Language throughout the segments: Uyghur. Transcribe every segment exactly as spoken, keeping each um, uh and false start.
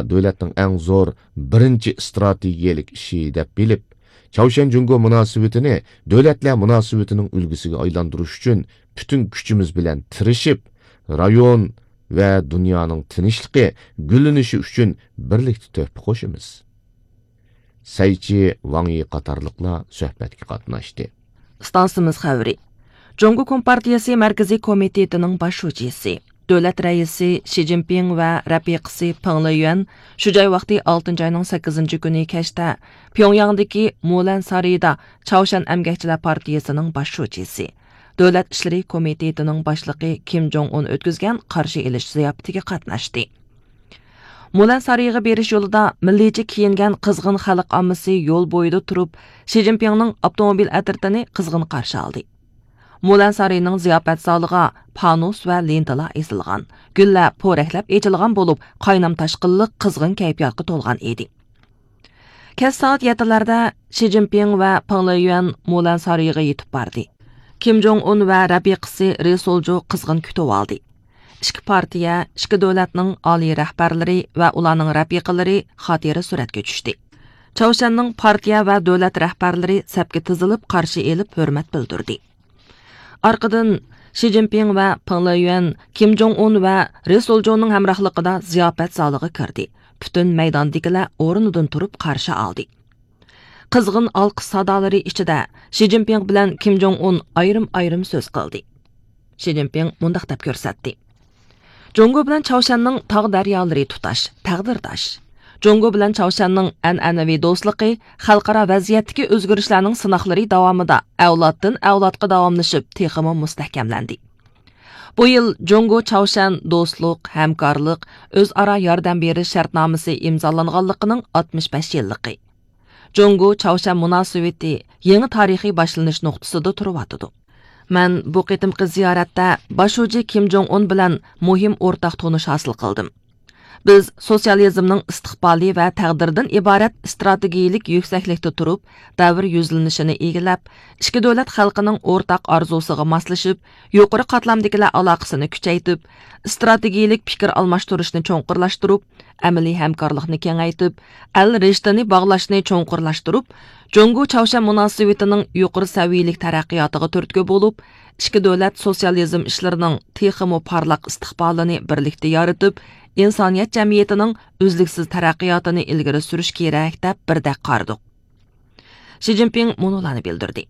دۆلەتنىڭ ئەڭ زور بىرىنچى ئىستراتېگىيەلىك ئىشى دەپ بىلىپ، چاۋشيەن جۇڭگو مۇناسىۋىتىنى دۆلەتلەر مۇناسىۋىتىنىڭ ئۈلگىسىگە ئايلاندۇرۇش ئۈچۈن پۈتۈن كۈچىمىز بىلەن تىرىشىپ، رايون ۋە دۇنيانىڭ تىنچلىقى، گۈللىنىشى ئۈچۈن بىرلىكتە تۆھپە قوشىمىز. سەيچى ۋاڭ يى قاتارلىقلار سۆھبەتكە قاتناشتى. ئىستانسىمىز خەۋىرى. جۇڭگو كومپارتىيىسى مەركىزىي كومىتېتىنىڭ باش شۇجىسى، دۆلەت رەئىسى شى جىنپىڭ ۋە رەپىقىسى پېڭ لېيۈەن شۇ جاي ۋاقتى ئالتىنچى ئاينىڭ سەككىزىنچى كۈنى كەچتە پيۇڭياڭدىكى مۇلەن سارىيىدا چاۋشيەن ئەمگەكچىلەر پارتىيىسىنىڭ باش شۇجىسى، دۆلەت ئىشلىرى كومىتېتىنىڭ باشلىقى كىم جوڭ ئۇن ئۆتكۈزگەن قارشى ئېلىش زىياپىتىگە قاتناشتى. مۇلەن سارىيىغا بېرىش يولىدا مىللىيچە كىيىنگەن قىزغىن خەلق ئاممىسى يول بويىدا تۇرۇپ، شى جىنپىڭنىڭ ئاپتوموبىل ئەترىتىنى قىزغىن قارشى ئالدى. مۇلەن سارىيىنىڭ زىياپەت زالىغا پانۇس ۋە لېنتىلار ئېسىلغان، گۈللەر پورەكلەپ ئېچىلغان بولۇپ، قاينام تاشقىنلىق قىزغىن كەيپىياتقا تولغان ئىدى. كەچ سائەت يەتتىلەردە شى جىنپىڭ ۋە پېڭ لېيۈەن مۇلەن سارىيىغا يېتىپ باردى. كىم جوڭ ئۇن ۋە رەپىقىسى رى سولجۇ قىزغىن كۈتۈۋالدى. ئىككى پارتىيە، ئىككى دۆلەتنىڭ ئالىي رەھبەرلىرى ۋە ئۇلارنىڭ رەپىقىلىرى خاتىرە سۈرەتكە چۈشتى. چاۋشيەننىڭ پارتىيە ۋە دۆلەت رەھبەرلىرى سەپكە تىزىلىپ قارشى ئېلىپ ھۆرمەت بىلدۈردى. ئارقىدىن شى جىنپىڭ ۋە پېڭ لېيۈەن كىم جوڭ ئۇن ۋە رى سولجۇنىڭ ھەمراھلىقىدا زىياپەت زالىغا كىردى. پۈتۈن مەيداندىكىلەر ئورنىدىن تۇرۇپ قارشى ئالدى. قىزغىن ئالقىش سادالىرى ئىچىدە شى جىنپىڭ بىلەن كىم جوڭ ئۇن ئايرىم-ئايرىم سۆز قىلدى. شى جىنپىڭ مۇنداق دەپ كۆرسەتتى: جۇڭگو بىلەن چاۋشيەننىڭ تاغ دەريالىرى تۇتاش، تەقدىرداش. جۇڭگو بىلەن چاۋشيەننىڭ ئەنئەنىۋى دوستلۇقى خەلقئارا ۋەزىيەتتىكى ئۆزگىرىشلەرنىڭ سىناقلىرى داۋامىدا ئەۋلادتىن ئەۋلادقا داۋاملىشىپ تېخىمۇ مۇستەھكەملەندى. بۇ يىل جۇڭگو چاۋشيەن دوستلۇق، ھەمكارلىق، ئۆزئارا ياردەم بېرىش شەرتنامىسى ئىمزالانغانلىقىنىڭ ئاتمىش بەش يىللىقى. جۇڭگو چاۋشيەن مۇناسىۋىتى يېڭى تارىخىي باشلىنىش نۇقتىسىدا تۇرۇۋاتىدۇ. مەن بۇ قېتىمقى زىيارەتتە باش شۇجى كىم جوڭ ئۇن بىلەن مۇھىم ئورتاق تونۇش ھاسىل قىلدىم. بىز سوتسىيالىزمنىڭ ئىستىقبالى ۋە تەقدىرىدىن ئىبارەت ئىستراتېگىيىلىك يۈكسەكلىكتە تۇرۇپ، دەۋر يۈزلىنىشىنى ئىگىلەپ، ئىككى دۆلەت خەلقىنىڭ ئورتاق ئارزۇسىغا ماسلىشىپ، يۇقىرى قاتلامدىكىلەر ئالاقىسىنى كۈچەيتىپ، ئىستراتېگىيىلىك پىكىر ئالماشتۇرۇشنى چوڭقۇرلاشتۇرۇپ، ئەمەلىي ھەمكارلىقنى كېڭەيتىپ، ئەل رىشتىنى باغلاشنى چوڭقۇرلاشتۇرۇپ، جۇڭگو چاۋشيەن مۇناسىۋىتىنىڭ يۇقىرى سەۋىيەلىك تەرەققىياتىغا تۈرتكە بولۇپ، ئىككى دۆلەت سوتسىيالىزم ئىشلىرىنىڭ تېخىمۇ پارلاق ئىستىقبالىنى بىرلىكتە يارىتىپ، ئىنسانىيەت جەمئىيىتىنىڭ ئۈزلۈكسىز تەرەققىياتىنى ئىلگىرى سۈرۈش كېرەك، دەپ بىردەك قارىدۇق. شى جىنپىڭ مۇنۇلارنى بىلدۈردى.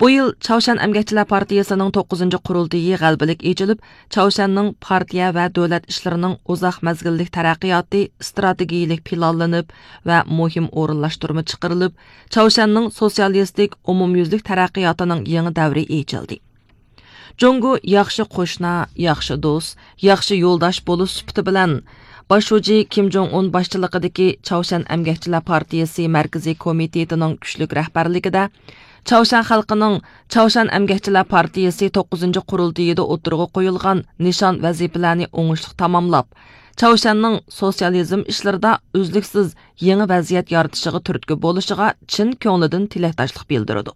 بۇ يىل چاۋشيەن ئەمگەكچىلەر پارتىيىسىنىڭ توققۇزىنچى قۇرۇلتىيى غەلىبىلىك ئېچىلىپ، چاۋشيەننىڭ پارتىيە ۋە دۆلەت ئىشلىرىنىڭ ئۇزاق مەزگىللىك تەرەققىياتى ئىستراتېگىيىلىك پىلانلىنىپ ۋە مۇھىم ئورۇنلاشتۇرما چىقىرىلىپ، چاۋشيەننىڭ سوتسىيالىستىك ئومۇميۈزلۈك تەرەققىياتىنىڭ يېڭى دەۋرى ئېچىلدى. جۇڭگو ياخشى قوشنا، ياخشى دوست، ياخشى يولداش بولۇش سۈپىتى بىلەن، باش شۇجى كىم جوڭ ئۇن باشچىلىقىدىكى چاۋشيەن ئەمگەكچىلەر پارتىيىسى مەركىزىي كومىتېتىنىڭ كۈچلۈك رەھبەرلىكىدە، چاۋشيەن خەلقىنىڭ چاۋشيەن ئەمگەكچىلەر پارتىيىسى توققۇزىنچى قۇرۇلتىيىدا ئوتتۇرىغا قويۇلغان نىشان ۋەزىپىلەرنى ئوڭۇشلۇق تاماملاپ، چاۋشيەننىڭ سوتسىيالىزم ئىشلىرىدا ئۈزلۈكسىز يېڭى ۋەزىيەت يارىتىشىغا تۈرتكە بولۇشىغا چىن كۆڭلىدىن تىلەكداشلىق بىلدۈرىدۇ.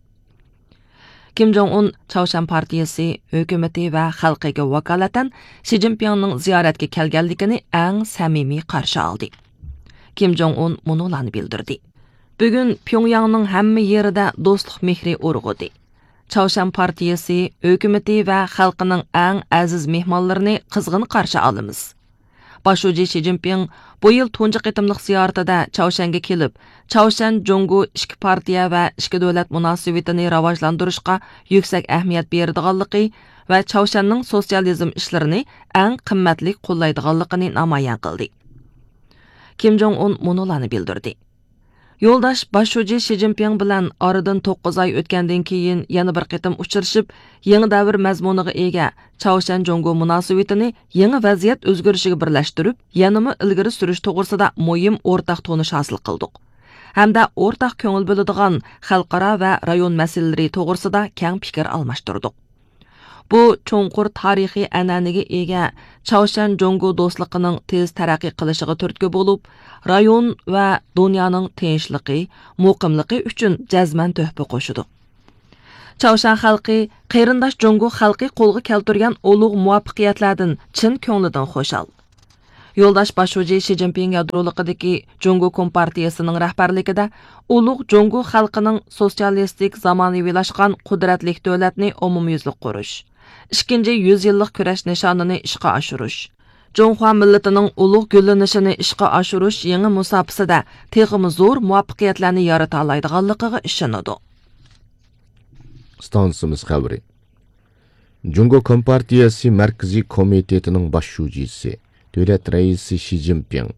كىم جوڭ ئۇن چاۋشيەن پارتىيىسى، ھۆكۈمىتى ۋە خەلقىگە ۋاكالىتەن شى جىنپىڭنىڭ زىيارەتكە كەلگەنلىكىنى ئەڭ سەمىمىي قارشى ئالدى. كىم جوڭ ئۇن مۇنۇلارنى بىلدۈردى: بۈگۈن پيۇڭياڭنىڭ ھەممە يېرىدە دوستلۇق مېھرى ئۇرغۇدى. چاۋشيەن پارتىيىسى، ھۆكۈمىتى ۋە خەلقىنىڭ ئەڭ ئەزىز مېھمانلىرىنى قىزغىن قارشى ئالىمىز. باش شۇجى شى جىنپىڭ بۇ يىل تۇنجى قېتىملىق زىيارىتىدە چاۋشيەنگە كېلىپ، چاۋشيەن جۇڭگو ئىككى پارتىيە ۋە ئىككى دۆلەت مۇناسىۋىتىنى راۋاجلاندۇرۇشقا يۈكسەك ئەھمىيەت بېرىدىغانلىقى ۋە چاۋشيەننىڭ سوتسىيالىزم ئىشلىرىنى ئەڭ قىممەتلىك قوللايدىغانلىقىنى نامايان قىلدى. كىم جوڭ ئۇن مۇنۇلارنى بىلدۈردى: يولداش باش شۇجى شى جىنپىڭ بىلەن ئارىدىن توققۇز ئاي ئۆتكەندىن كېيىن يەنە بىر قېتىم ئۇچرىشىپ، يېڭى دەۋر مەزمۇنىغا ئىگە چاۋشيەن جۇڭگو مۇناسىۋىتىنى يېڭى ۋەزىيەت ئۆزگىرىشىگە بىرلەشتۈرۈپ، يەنىمۇ ئىلگىرى سۈرۈش توغرىسىدا مۇھىم ئورتاق تونۇش ھاسىل قىلدۇق ھەمدە ئورتاق كۆڭۈل بۆلىدىغان خەلقئارا ۋە رايون مەسىلىلىرى توغرىسىدا كەڭ پىكىر ئالماشتۇردۇق. بۇ چوڭقۇر تارىخىي ئەنئەنىگە ئىگە چاۋشيەن جۇڭگو دوستلۇقىنىڭ تېز تەرەققىي قىلىشىغا تۈرتكە بولۇپ، رايون ۋە دۇنيانىڭ تىنچلىقى، مۇقىملىقى ئۈچۈن جەزمەن تۆھپە قوشىدۇ. چاۋشيەن خەلقى قېرىنداش جۇڭگو خەلقى قولغا كەلتۈرگەن ئۇلۇغ مۇۋەپپەقىيەتلەردىن چىن كۆڭلىدىن خۇشال. يولداش باش شۇجى شى جىنپىڭ يادرولۇقىدىكى جۇڭگو كومپارتىيىسىنىڭ رەھبەرلىكىدە ئۇلۇغ جۇڭگو خەلقىنىڭ سوتسىيالىستىك زامانىۋىلاشقان قۇدرەتلىك دۆلەتنى ئومۇميۈزلۈك قۇرۇش، ئىككىنچى يۈز يىللىق كۈرەش نىشانىنى ئىشقا ئاشۇرۇش، جۇڭخۇا مىللىتىنىڭ ئۇلۇغ گۈللىنىشىنى ئىشقا ئاشۇرۇش يېڭى مۇساپىسىدە تېخىمۇ زور مۇۋەپپەقىيەتلەرنى يارىتالايدىغانلىقىغا ئىشىنىدۇ. ئىستانسىمىز خەۋىرى. جۇڭگو كومپارتىيەسى مەركىزىي كومىتېتىنىڭ باش شۇجىسى، دۆلەت رەئىسى شى جىنپىڭ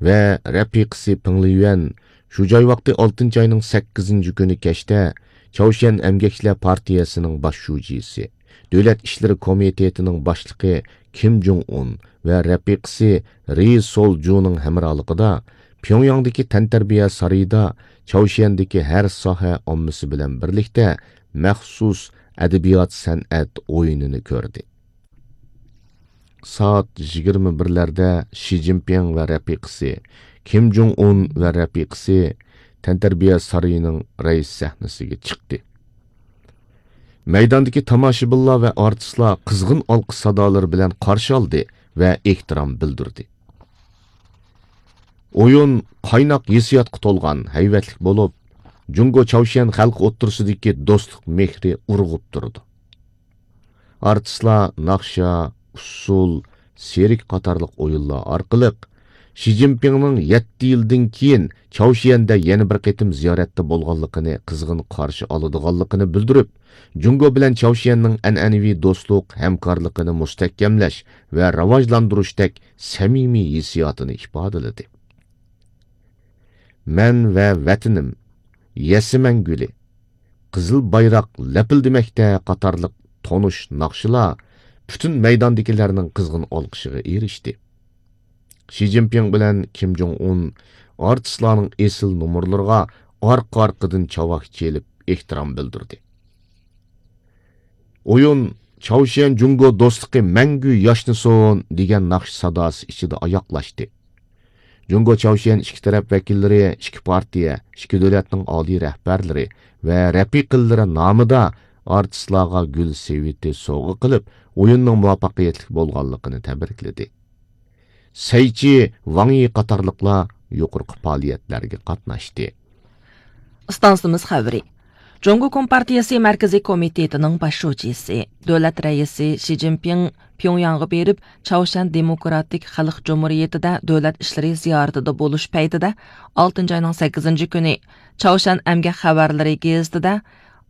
ۋە رەپىقىسى پېڭ لىيۈەن شۇ جاي ۋاقتى ئالتىنچى ئاينىڭ سەككىزىنچى كۈنى كەچتە چاۋشيەن ئەمگەكچىلەر پارتىيەسىنىڭ باش شۇجىسى، دۆلەت ئىشلىرى كومىتېتىنىڭ باشلىقى كىم جۇڭ ئۇن ۋە رەپىقىسى رى سول جۇنىڭ ھەمراھلىقىدا پيۇڭياڭدىكى تەنتەربىيە سارىيىدا چاۋشيەندىكى ھەر ساھە ئاممىسى بىلەن بىرلىكتە مەخسۇس ئەدەبىيات سەنئەت ئويۇنىنى كۆردى. سائەت يىگىرمە بىرلەردە شى جىنپىڭ ۋە رەپىقىسى، كىم جۇڭ ئۇن ۋە رەپىقىسى تەنتەربىيە سارىيىنىڭ رەئىس سەھنىسىگە چىقتى. مەيداندىكى تاماشىبىنلار ۋە ئارتىسلار قىزغىن ئالقىش سادالىرى بىلەن قارشى ئالدى ۋە ئېھتىرام بىلدۈردى. ئويۇن قايناق ھېسسىياتقا تولغان، ھەيۋەتلىك بولۇپ، جۇڭگو چاۋشيەن خەلقى ئوتتۇرىسىدىكى دوستلۇق مېھرى ئۇرغۇپ تۇرىدۇ. ئارتىسلار ناخشا، ئۇسسۇل، سېرك قاتارلىق ئويۇنلار ئارقىلىق شى جىنپىڭنىڭ يەتتە يىلدىن كېيىن چاۋشيەندە يەنە بىر قېتىم زىيارەتتە بولغانلىقىنى قىزغىن قارشى ئالىدىغانلىقىنى بىلدۈرۈپ، جۇڭگو بىلەن چاۋشيەننىڭ ئەنئەنىۋى دوستلۇق ھەمكارلىقىنى مۇستەھكەملەش ۋە راۋاجلاندۇرۇشتەك سەمىمىي ھېسسىياتىنى ئىپادىلىدى. مەن ۋە ۋەتىنىم، يەسىمەن گۈلى، قىزىل بايراق لەپىلدىمەكتە قاتارلىق تونۇش ناخشىلار پۈتۈن مەيداندىكىلەرنىڭ قىزغىن ئالقىشىغا ئېرىشتى. شى جىنپىڭ بىلەن كىم جۇڭ ئۇن ئارتىسلارنىڭ ئېسىل نومۇرلىرىغا ئارقا-ئارقىدىن چاۋاك چېلىپ ئېھتىرام بىلدۈردى. ئويۇن چاۋشيەن جۇڭگو دوستلۇقى مەڭگۈ ياشنىسۇن دېگەن ناخشا ساداسى ئىچىدە ئاياغلاشتى. جۇڭگو چاۋشيەن ئىككى تەرەپ ۋەكىللىرى ئىككى پارتىيە، ئىككى دۆلەتنىڭ ئالىي رەھبەرلىرى ۋە رەپىقىلىرى نامىدا ئارتىسلارغا گۈل سېۋىتى سوۋغا قىلىپ، ئويۇننىڭ مۇۋەپپەقىيەتلىك بولغانلىقىنى تەبرىكلىدى. سەيچى، ۋاڭ يى قاتارلىقلار يۇقىرىقى پائالىيەتلەرگە قاتناشتى. ئىستانسىمىز خەۋىرى. جۇڭگو كومپارتىيىسى مەركىزىي كومىتېتىنىڭ باش شۇجىسى، دۆلەت رەئىسى شى جىنپىڭ پيۇڭياڭغا بېرىپ، چاۋشيەن دېموكراتىك خەلق جۇمھۇرىيىتىدە دۆلەت ئىشلىرى زىيارىتىدە بولۇش پەيتىدە، ئالتىنچى ئاينىڭ سەككىزىنچى كۈنى چاۋشيەن ئەمگەك خەۋەرلىرى گېزىتىدە،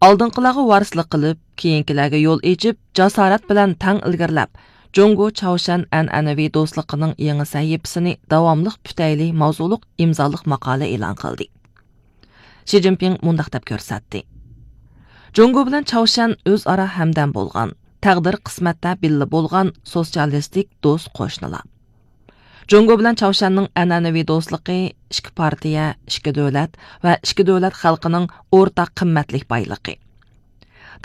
ئالدىنقىلارغا ۋارىسلىق قىلىپ، كېيىنكىلەرگە يول ئېچىپ، جاسارەت بىلەن تەڭ ئىلگىرىلەپ، جۇڭگو چاۋشيەن ئەنئەنىۋى دوستلۇقىنىڭ يېڭى سەھىپىسىنى داۋاملىق پۈتەيلى ماۋزۇلۇق ئىمزالىق ماقالە ئېلان قىلدى. شى جىنپىڭ مۇنداق دەپ كۆرسەتتى: جۇڭگو بىلەن چاۋشيەن ئۆزئارا ھەمدەم بولغان، تەقدىر قىسمەتتە بىللە بولغان سوتسىيالىستىك دوست قوشنىلار. جۇڭگو بىلەن چاۋشيەننىڭ ئەنئەنىۋى دوستلۇقى ئىككى پارتىيە، ئىككى دۆلەت ۋە ئىككى دۆلەت خەلقىنىڭ ئورتاق قىممەتلىك بايلىقى.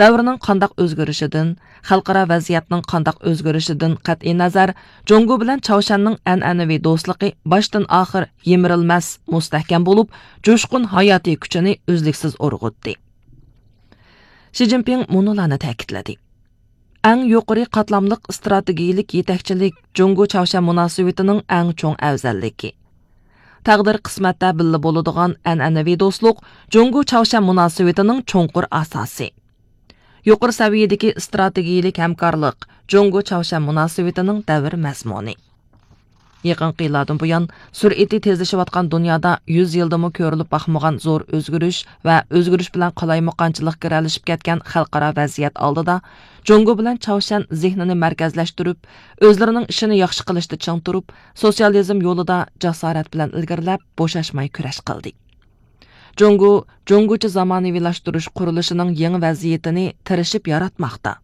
دەۋرنىڭ قانداق ئۆزگىرىشىدىن، خەلقئارا ۋەزىيەتنىڭ قانداق ئۆزگىرىشىدىن قەتئىينەزەر، جۇڭگو بىلەن چاۋشيەننىڭ ئەنئەنىۋى دوستلۇقى باشتىن ئاخىر يىمىرىلمەس، مۇستەھكەم بولۇپ، جۇشقۇن ھاياتىي كۈچىنى ئۈزلۈكسىز ئۇرغۇتتى. شى جىنپىڭ مۇنۇلارنى تەكىتلىدى: ئەڭ يۇقىرى قاتلاملىق ئىستراتېگىيىلىك يېتەكچىلىك جۇڭگو چاۋشيەن مۇناسىۋىتىنىڭ ئەڭ چوڭ ئەۋزەللىكى. تەقدىر قىسمەتتە بىللە بولىدىغان ئەنئەنىۋى دوستلۇق جۇڭگو چاۋشيەن مۇناسىۋىتىنىڭ چوڭقۇر ئاساسى. يۇقىرى سەۋىيەدىكى ئىستراتېگىيىلىك ھەمكارلىق جۇڭگو چاۋشيەن مۇناسىۋىتىنىڭ دەۋر مەزمۇنى. يېقىنقى يىللاردىن بۇيان، سۈرئىتى تېزلىشىۋاتقان دۇنيادا يۈز يىلدىمۇ كۆرۈلۈپ باقمىغان زور ئۆزگىرىش ۋە ئۆزگىرىش بىلەن قالايمىقانچىلىق گىرەلىشىپ كەتكەن خەلقئارا ۋەزىيەت ئالدىدا، جۇڭگو بىلەن چاۋشيەن زېھنىنى مەركەزلەشتۈرۈپ، ئۆزلىرىنىڭ ئىشىنى ياخشى قىلىشتا چىڭ تۇرۇپ، سوتسىيالىزم يولىدا جاسارەت بىلەن ئىلگىرىلەپ، بوشاشماي كۈرەش قىلدى. جۇڭگو، جۇڭگوچە زامانىۋىلاشتۇرۇش قۇرۇلۇشىنىڭ يېڭى ۋەزىيىتىنى تىرىشىپ ياراتماقتا.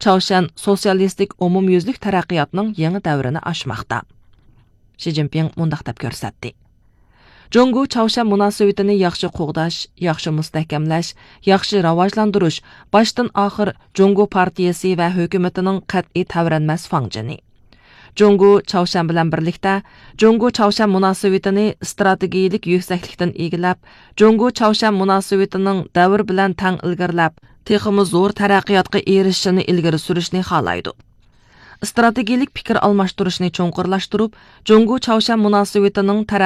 چاۋشيەن سوتسىيالىستىك ئومۇميۈزلۈك تەرەققىياتنىڭ يېڭى دەۋرىنى ئاچماقتا. شى جىنپىڭ مۇنداق دەپ كۆرسەتتى: جۇڭگو چاۋشيەن مۇناسىۋىتىنى ياخشى قوغداش، ياخشى مۇستەھكەملەش، ياخشى راۋاجلاندۇرۇش باشتىن ئاخىر جۇڭگو پارتىيىسى ۋە ھۆكۈمىتىنىڭ قەتئىي تەۋرەنمەس فاڭجېنى. جۇڭگو چاۋشيەن بىلەن بىرلىكتە، جۇڭگو چاۋشيەن مۇناسىۋىتىنى ئىستراتېگىيىلىك يۈكسەكلىكتىن ئىگىلەپ، جۇڭگو چاۋشيەن مۇناسىۋىتىنىڭ دەۋر بىلەن تەڭ ئىلگىرىلەپ، تېخىمۇ زور تەرەققىياتقا ئېرىشىشىنى ئىلگىرى سۈرۈشنى خالايدۇ. ئىستراتېگىيىلىك پىكىر ئالماشتۇرۇشنى چوڭقۇرلاشتۇرۇپ، جۇڭگو چاۋشيەن مۇناسىۋىتىنىڭ